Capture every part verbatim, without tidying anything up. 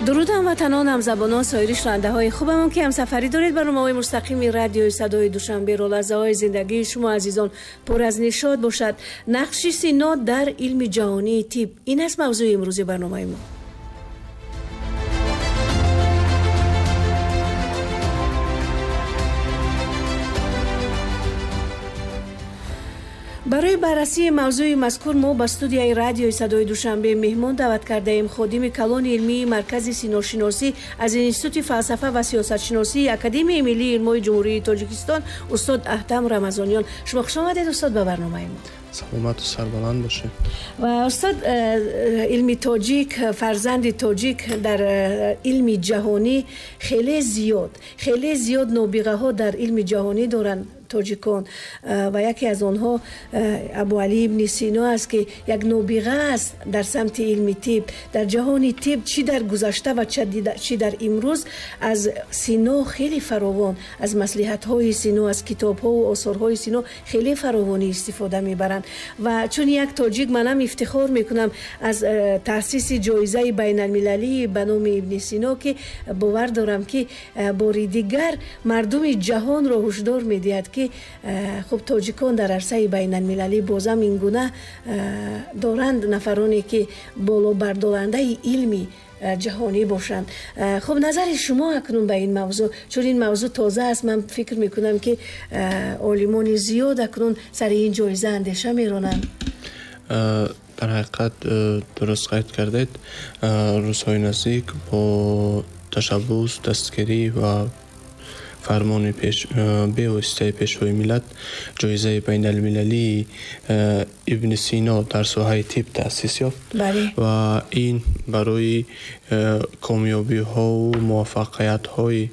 Дуруд ҳамватанон, ҳамзабонон, соири шунавандаҳои хубамон, ки ҳамсафарӣ доред барномаҳои мустақими радиои садои Душанберо. Лаҳзаҳои зиндагии шумо азизон пур аз нишот бошад. Нақши Сино дар илми ҷаҳонии тиб — ин аст мавзӯи имрӯзи барномаи мо. Барои баррасии мавзӯи мазкур мо ба студияи радиои садои Душанбе меҳмон даъват кардаем ходими калони илмии Маркази синошиносӣ аз Институти фалсафа ва сиёсатшиносии Академияи миллии илмҳои Ҷумҳурии Тоҷикистон устод Аҳтам Рамазониён. Шумо хуш омадед, устод, ба барномаи мо. Саломату сарбаланд бошед. Ва устод, илми тоҷик, фарзанди тоҷик дар илми ҷаҳонӣ хеле зиёд, хеле зиёд нобиғаҳо дар илми ҷаҳонӣ доранд тоҷикон, ва яке аз онҳо Абуалӣ ибни Сино аст, ки як нобиға аст дар самти илми тиб. Дар ҷаҳони тиб чӣ дар гузашта ва чӣ дар имрӯз аз Сино хеле фаровон, аз маслиҳатҳои Сино, аз китобҳову осорҳои Сино хеле фаровонӣ истифода мебаранд. Ва чун як тоҷик манам ифтихор мекунам аз таъсиси ҷоизаи байналмилалии ба номи ибни Сино, ки бовар дорам, ки бори дигар мардуми ҷаҳонро ҳушдор медиҳад, ки хуб тоҷикон дар арсаи байналмилалӣ бозам ин гуна доранд нафароне, ки болобардорандаи илми ҷаҳонӣ бошанд. Хуб, назари шумо акнун ба ин мавзӯъ, чун ин мавзӯъ тоза аст, ман фикр мекунам, ки олимони зиёд акнун сари ин ҷоиза андеша меронанд. Дар ҳақиқат дуруст қайд кардед. Рӯзҳои наздик бо ташаббус, дастгирӣ ва фармони бевоситаи Пешвои миллат ҷоизаи байналмилалии ибни Сино дар соҳаи тиб таъсис ёфт ва ин барои комёбиҳову муваффақиятҳои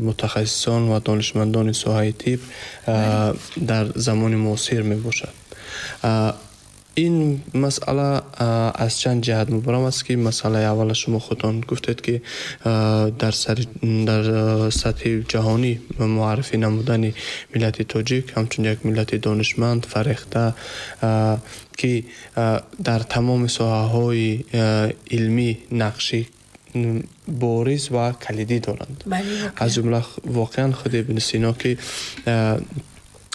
мутахассисон ва донишмандони соҳаи тиб дар замони муосир мебошад. Ин масъала аз чанд ҷиҳат мубрам аст, ки масъалаи аввала шумо худтон гуфтед, ки дар сатҳи ҷаҳонӣ муаррифӣ намудани миллати тоҷик ҳамчун як миллати донишманд, фарехта, ки дар тамоми соҳаҳои илмӣ нақши бориз ва калидӣ доранд. Аз ҷумла воқеан худи ибни Сино, ки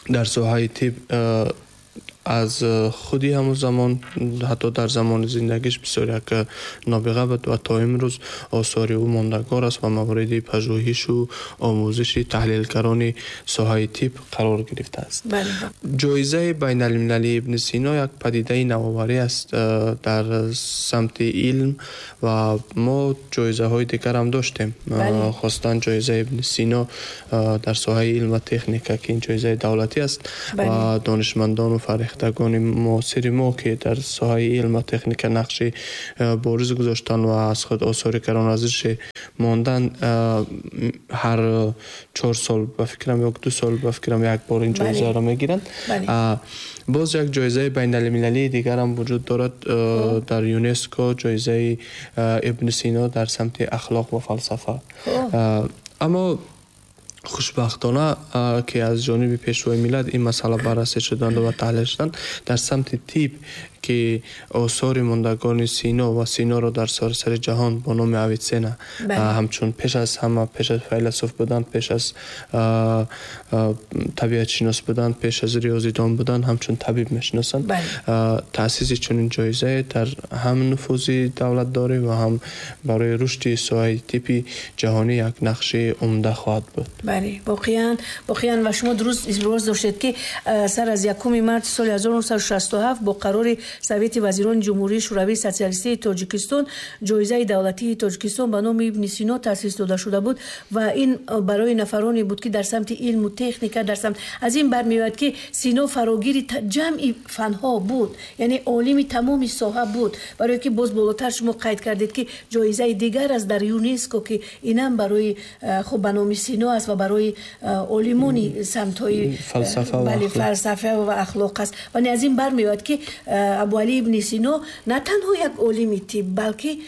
дар соҳаи тиб аз худи ҳамон замон, ҳатто дар замони зиндагиш бисёр як нобиға буд ва то имрӯз осори ӯ мондагор аст ва мавриди пажӯҳишу омӯзиши таҳлилгарони соҳаи тиб қарор гирифтааст. Ҷоизаи байналмилалии ибни Сино як падидаи навоварӣ аст дар самти илм ва мо ҷоизаҳои дигарам доштем, хосатан ҷоизаи ибни Сино дар соҳаи илм ва техника, ки ин ҷоизаи давлатӣ аст ва донишмандону фарехтагони муосири мо, ки дар соҳаи илм ва техника нақши бориз гузоштанд ва аз худ осори каронарзише мондан, ҳар чор сол ба фикрам ё ду сол ба фикрам як бор ин ҷоизаро мегиранд. Боз як ҷоизаи байналмилалии дигарам вуҷуд дорад дар ЮНЕСКО, ҷоизаи ибни Сино дар самти ахлоқ ва фалсафа. Аммо хушбахтона, ки аз ҷониби Пешвои миллат ин масъала баррасӣ шуданд ва таҳлил шуданд дар самти тиб, ки осори мондагони Сино ва Синоро дар саросари ҷаҳон бо номи Авиценна ҳамчун пеш аз ҳама, пеш аз файласуф будан, пеш аз табиатшинос будан, пеш аз риёзидон будан, ҳамчун табиб мешиносанд. Таъсиси чунин ҷоизае дар ҳам нуфузи давлатдорӣ ва ҳам барои рушди соҳаи тибби ҷаҳонӣ як нақши умда хоҳад буд. Бале, воқеан, воқеан. Ва шумо дуруст изброз доштед, ки сар аз якуми марти соли ҳазору нӯҳсаду шасту ҳафт бо қарори Совети вазирони Ҷумҳурии Шӯравии Социалистии Тоҷикистон ҷоизаи давлатии Тоҷикистон ба номи ибни Сино таъсис дода шуда буд ва ин барои нафароне буд, ки дар самти илму техника, дар самт аз ин бармеояд, ки Сино фарогири ҷамъи фанҳо буд, яъне олими тамоми соҳа буд. Барое ки боз болотар шумо қайд кардед, ки ҷоизаи дигар аст дар ЮНЕСКО, ки инам барои хуб ба номи Сино аст ва барои олимони самтҳои фалсафа ва ахлоқ аст. Ва аз ин бармеояд, ки Абуалӣ ибни Сино на танҳо як олими тиб, балки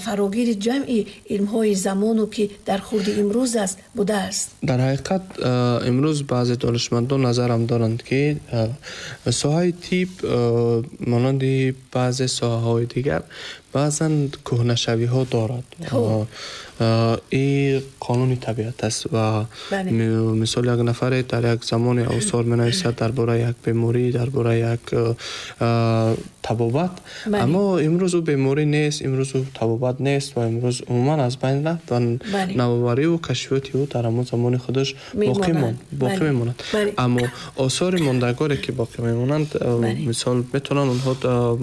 фарогири ҷамъи илмҳои замону, ки дар хурди имрӯз аст, будааст. Дар ҳақиқат имрӯз баъзе донишмандон назарам доранд, ки соҳаи тиб монанди баъзе соҳаҳои дигар Баъзан кӯҳнашавиҳо дорад. Ин қонуни табиат аст ва мисол як нафаре дар як замоне осор менависад дар бораи як беморӣ, дар бораи як табобат, аммо имрӯз ӯ беморӣ нест, имрӯз ӯ табобат нест ва имрӯз умуман аз байн рафт ва навовариву кашфиёти ӯ дар ҳамон замони худаш боқӣ мемонад. Аммо осори мондагоре ки боқӣ мемонанд, мисол метавонанд онҳо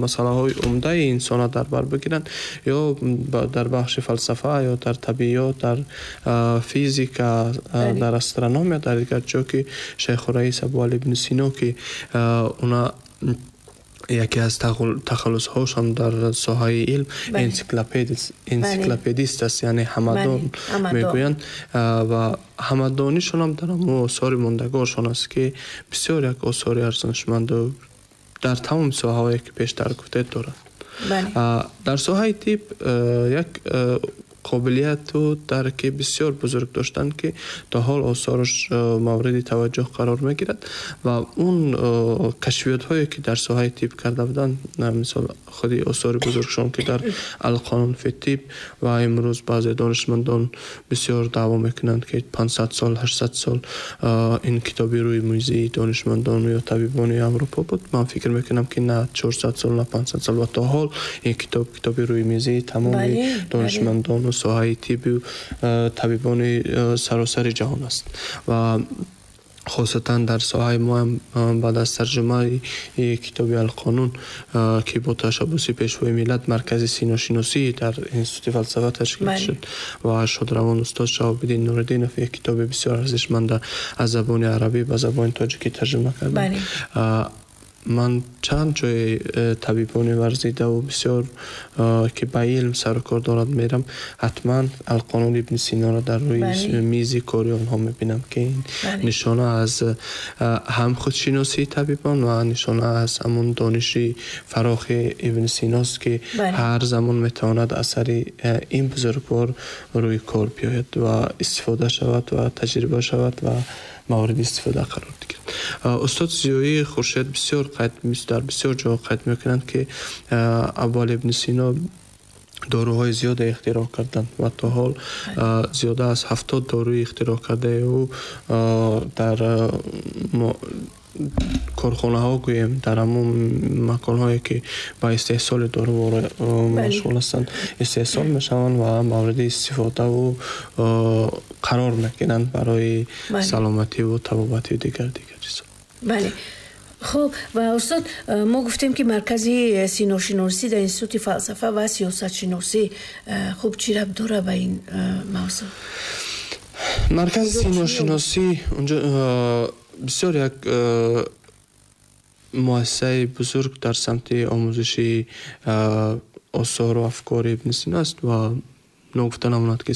масъалаҳои умдаи инсонро дар бар бигиранд, ё дар бахши фалсафа, ё дар табиёт, дар физика, дар астрономия, дар дигар ҷо ки Шайхураис Абуалӣ ибни Сино, ки она яке аз тахаллусҳошон дар соҳаи илм энсиклопедист аст, яъне ҳамадон мегӯянд, ва ҳамадонишонам дар ҳамон осори мондагоршон аст, ки бисёр як осори арзишманду дар тамоми соҳаҳое ки пештар гуфтед дорад. Дар соҳаи тиб як қобилияту дарки бисёр бузург доштанд, ки то ҳол осораш мавриди таваҷҷӯҳ қарор мегирад ва он кашфиётҳое ки дар соҳаи тиб карда буданд, мисол худи осори бузургшон ки дар Алқонун фи тиб, ва имрӯз баъзе донишмандон бисёр даъво мекунанд, ки панҷсад сол, ҳаштсад сол ин китоби рӯи мӯзии донишмандон ё табибони Аврупо буд. Ман фикр мекунам, ки на чорсад сол, на панҷсад сол ва то ҳол ин китоб китоби рӯи мизии тамоми донишмандону соҳаи тибу табибони саросари ҷаҳон аст ва хосатан дар соҳаи мо ҳам баъд аз тарҷумаи китоби Алқонун, ки бо ташаббуси Пешвои миллат Маркази синошиносӣ дар Институти фалсафа ташкил шуд ва шодравон устод Шаҳобиддин Нуриддинов як китоби бисёр арзишманда аз забони арабӣ ба забони тоҷикӣ тарҷума карданд, ман чанд ҷои табибони варзидаву бисёр ки ба илм сарукор дорад мерам, ҳатман Алқонун ибни Синоро дар рӯи мизи кори онҳо мебинам, ки ин нишона аз ҳам худшиносии табибон ва нишона аз ҳамон дониши фарохи ибни Синост, ки ҳар замон метавонад асари ин бузургвор рӯи кор биёяд ва истифода шавад ва таҷриба шавад ва мавриди истифода қарор гирад. Устод Зиёӣ Хуршед бисёр қайд, дар бисёр ҷо қайд мекунанд, ки Абуалӣ ибни Сино доруҳои зиёде ихтироъ карданд ва то ҳол зиёда аз ҳафтод доруи ихтироъ кардаи ӯ дар корхонаҳо, гӯем, дар ҳамон маконҳое ки ба истеҳсоли дору машғул ҳастанд, истеҳсол мешаванд ва мавриди истифодаву қарор мегиранд барои саломативу табобатию дигар дигар чизҳо. Бале. Хуб, ва устод, мо гуфтем, ки Маркази синошиносӣ дар Институти фалсафа ва сиёсатшиносӣ, хуб, чӣ рабт дорад ба ин мавзӯъ? Маркази синошиносӣ унҷо бисёр як муассисаи бузург дар самти омӯзиши осору афкори ибни Сино аст ва ногуфта намонад, ки